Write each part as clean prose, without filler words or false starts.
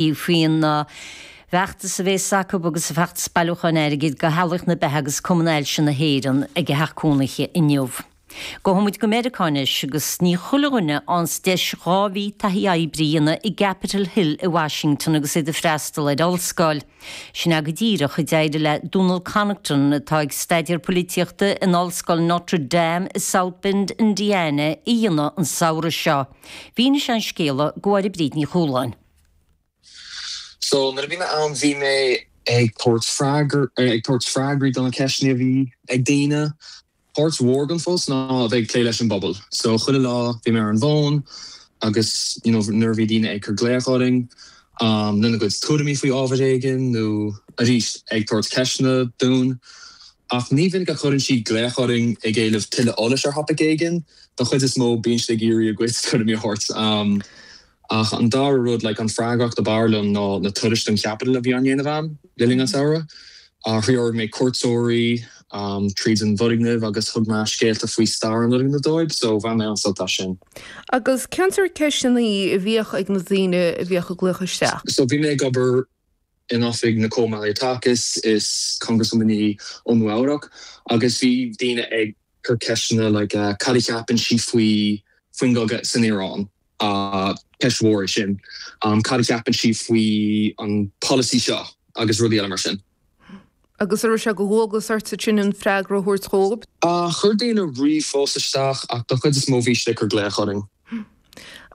Faoin bhfeachtas a bhéas acu agus an feachtas bailiúcháin airgid do Theaghlaigh na Beatha agus Cumann Ailse na hÉireann ag a theach cónaithe inniu. Gabhfaidh muid go Meiriceá anois agus ní chuile dhuine a fhaigheanns deis 2 mhí taithí oibre a dhéanamh i gCapitol Hill i Washington agus iad ag freastal ar ollscoil. Sin é go díreach a d'éirigh le Dónal Connaughton atá ag staidéar polaitíochta in Ollscoil Notre Dame i South Bend, Indiana a dhéanamh an samhradh seo. Mhínigh sé an scéal do Mháire Bríd Ní Chualáin. So nuair a bhí mé ann bhí mé ag tabhairt freagar, ag tabhairt freagraí do na ceisteanna a bhí ag daoine. Páirt mhór den phost ná a bheith ag plé leis an bpobal. So chuile lá bhí mé ar an bhfón agus you know nuair a bhí daoine ag cur glaoch orainn lena gcuid tuairimí faoi ábhar éigin nó arís ag tabhairt ceisteanna dúinn. Ach ní mhinic a chuireann siad glaoch orainn ag éileamh tuilleadh eolais ar thopaic éigin. Don chuid is mó bíonn siad ag iarraidh a gcuid tuairimí a thabhairt. Ach an dara rud, like, an freagracht ab fhearr liom ná na turais don Capitol a bhí á ndéanamh a'm le linn an tsamhraidh. Threoraigh mé cuairteoirí tríd an bhfoirgneamh agus thug mé scéalta faoi stair an fhoirgnimh dóibh, so bhain mé an-sult as sin. Agus cén sórt ceisteanna a bhíodh ag na daoine a bhíodh ag glaoch isteach? So bhí mé ag obair in oifig Nicole Malliotakis, is Congresswoman í ó Nua Eabhrac, agus bhí daoine ag cur ceisteanna like cad a cheapann sí faoi faoin gcogadh san Iaráin? Ceist mhór é sin. Cad a cheapann sí faoi an polasaí seo? Agus rudaí eile mar sin. Agus an raibh sé de dhualgas ort ansin an freagra a thabhairt dhóibh? Chuir daoine ríomhphost isteach ach don chuid is mó bhí siad ag cur glaoch orainn.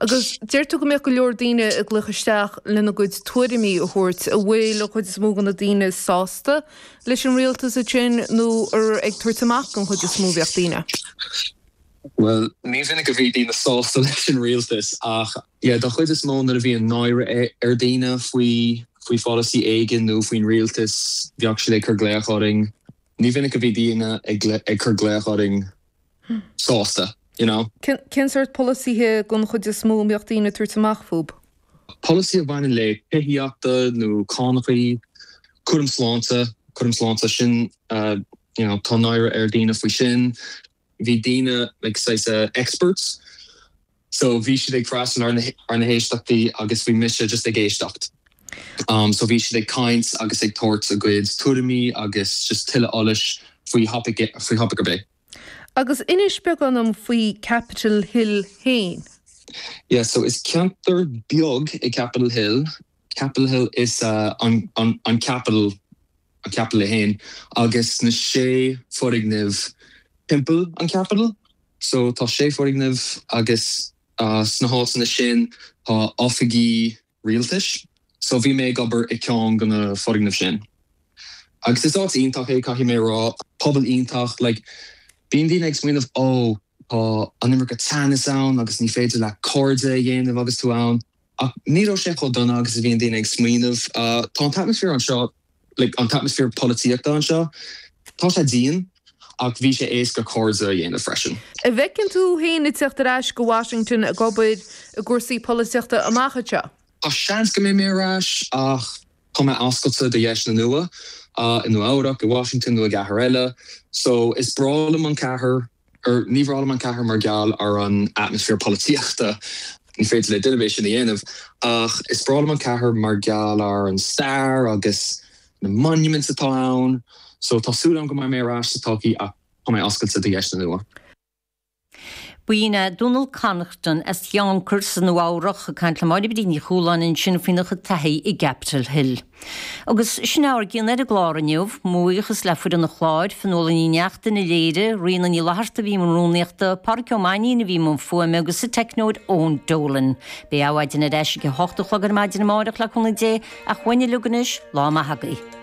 Agus deir tú go mbeadh go leor daoine ag glaoch isteach lena gcuid tuairimí a thabhairt. An bhfuil an chuid is mó de na daoine sásta leis an rialtas ansin nó ar ag tabhairt amach don chuid is mó a bheadh daoine? Bhuel, ní mhinic a bhí daoine sásta leis an rialtas ach yeah, don chuid is mó nuair a bhíonn náire ar daoine faoi faoi pholasaí éigin nó faoin rialtas, bheadh siad ag cur glaoch orainn. Ní mhinic a bhí daoine ag cur glaoch orainn sásta, you know. Cén sórt polasaithe den chuid is mó a mbeadh daoine ag tabhairt amach fúb? Polasaí a bhaineann le tithíochta nó cánachaí, cúram sláinte, cúram sláinte, sin, you know, tá náire ar daoine faoi sin. Bhí daoine, like, saghas experts, so bhí siad ag freastal ar na, ar na héisteachtaí agus bhí mise just ag éisteacht. So bhí siad ag caint agus ag tabhairt a gcuid tuairimí agus just tuilleadh eolais faoi thopaic, faoi thopaic ar bith. Agus inis beagán dom faoi Capitol Hill féin. Yeah, so is ceantar beag é Capitol Hill. Capitol Hill is an an Capitol, an Capitol é féin agus na sé foirgneamh timpeall an Capitol. So tá sé foirgneamh agus sna háiteanna sin tá oifigí rialtais. So bhí mé ag obair i ceann de na foirgnimh sin. Agus is áit iontach é, caithfidh mé a rá. Pobal iontach. Like, bíonn daoine ag smaoineamh, oh, tá an iomarca teannas ann agus ní féidir leat cairde a dhéanamh agus tú ann. Ach ní raibh sé chomh dona agus a bhíonn daoine ag smaoineamh. Tá an t-atmaisféar anseo, like, an t-atmaisféar polaitíochta anseo, tá sé dian ach bhí sé éasca cairde a dhéanamh freisin. An bhfeiceann tú féin ag teacht ar ais go Washington ag obair i gcúrsaí polaitíochta amach anseo? Tá seans go mbeidh mé ar ais ach tá mé oscailte do dheiseanna nua, i Nua Eabhrac, i Washington nó i gcathair eile. So is breá liom an cathair. Or, ní bhreá liom an cathair mar gheall ar an atmaisféar polaitíochta, ní féidir le duine ar bith sin a dhéanamh, ach is breá liom an cathair mar gheall ar an stair agus na monuments atá ann. So tá súil agam go mbeidh mé ar ais sa todhchaí ach tá mé oscailte do dheiseanna nua. B'in é Dónal Connaughton as Yonkers i Nua Eabhrach ag caint le Máire Bríd Ní Chualáin ansin faoina chuid taithí i gCapitol Hill. Agus sin ár gcion ar an gclár inniu. Mo bhuíochas le foireann an chláir, Fionnuala Ní Neachtain a léirigh, Ríona Ní Fhlatharta a bhí i mbun rúnaíochta, Pádraic Ó Mainnín a bhí i mbun fuaime agus an teicneoir Eoin Dolan. Beidh Adhmhaidin ar ais ag a hocht a chlog ar maidin amárach le cúnamh Dé ach uainn uilig anois, lá maith agaibh.